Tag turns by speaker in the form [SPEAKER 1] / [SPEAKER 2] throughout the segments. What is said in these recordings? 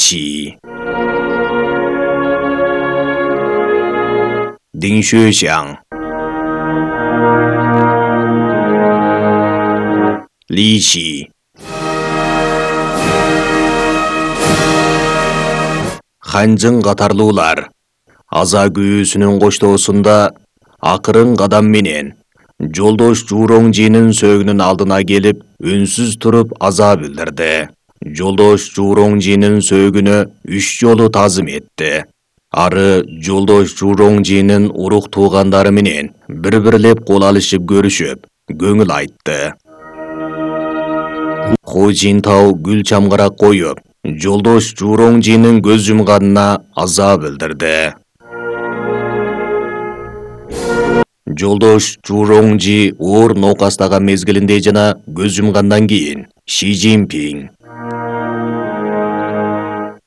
[SPEAKER 1] Личи, Диншуэшang, Личи, Ханжың катарлуулар аза күйүүсүнүн коштоосунда акырын кадам менен жолдош Журоңжинин сөөгүнүн алдына келип үнсүз туруп аза билдирди. Жолдош Журоңжинин сөөгүнө 3 жолу тазым этти. Ары жолдош Журоңжинин урук туугандары менен бири-бирлеп кол алышып көрүшүп, көңүл айтты. Ху Жинтау гүл чамгарак коюп, жолдош Журоңжинин көз жумганына аза билдирди. Жолдош Журоңжи оор ноокастаган мезгилинде жана көз жумгандан кийин Ши Цзиньпин,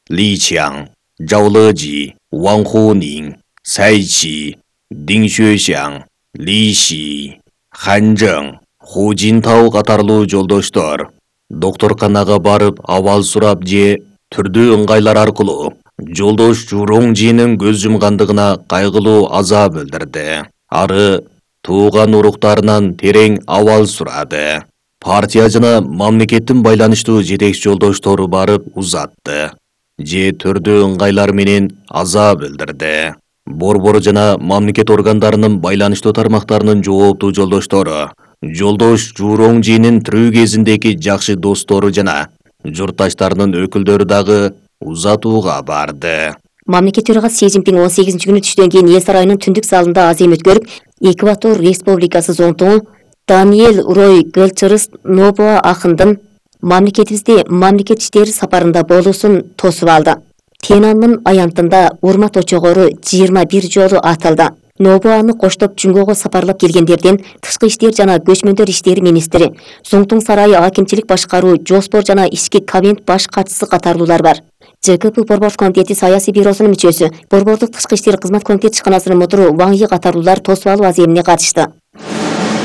[SPEAKER 1] Ли Чиang, Жао Лежи, Ван Хунин, Цай Чи, Дин Шуэшang, Ли Ши, Ханжың, Ху Жинтау катарлуу жолдоштор докторканага барып абал сурап же түрдүү ыңгайлар аркылуу жолдош Журоңжинин көз жумгандыгына кайгылуу аза билдирди. Ары тууган уруктарынан терең абал сурады. Партия жана мамлекеттин байланыштуу жетекчи жолдоштору барып узатты. Же түрдүү ыңгайлар менен аза билдирди. Борбор жана мамлекет органдарынын байланыштуу тармактарынын жооптуу жолдоштору, жолдош Журоңжинин тирүү кезиндеги жакшы достору жана журтташтарынын өкүлдөрү дагы узатууга барды.
[SPEAKER 2] Мамлекет төрагасы Си Цзиньпин 18-күнү түштөн кийин эл сарайынын түндүк залында азем өткөрүп, Эквадор Республикасы зонтугу Даниэль Рой Гелчерс Нобуа акындын мамлекетибизде мамлекет иштери сапарында болуусун тосуп алды. Тенанмын аянтында урмат очогору 21 жолу атылды. Нобуаны коштоп Жунгого сапарлап келгендерден тышкы иштер жана көчмөндөр иштери министри, Зоңтуң сарайы акимчилик башкаруу, жоспор жана ички кабинет баш катчысы катарлуулар бар. ЖКП Борбор комитети саясий бюросунун мүчөсү, Борбордук тышкы иштер кызмат комитет ишканасынын мутуру Ваң Йи катарлуулар тосуп алуу аземине катышты.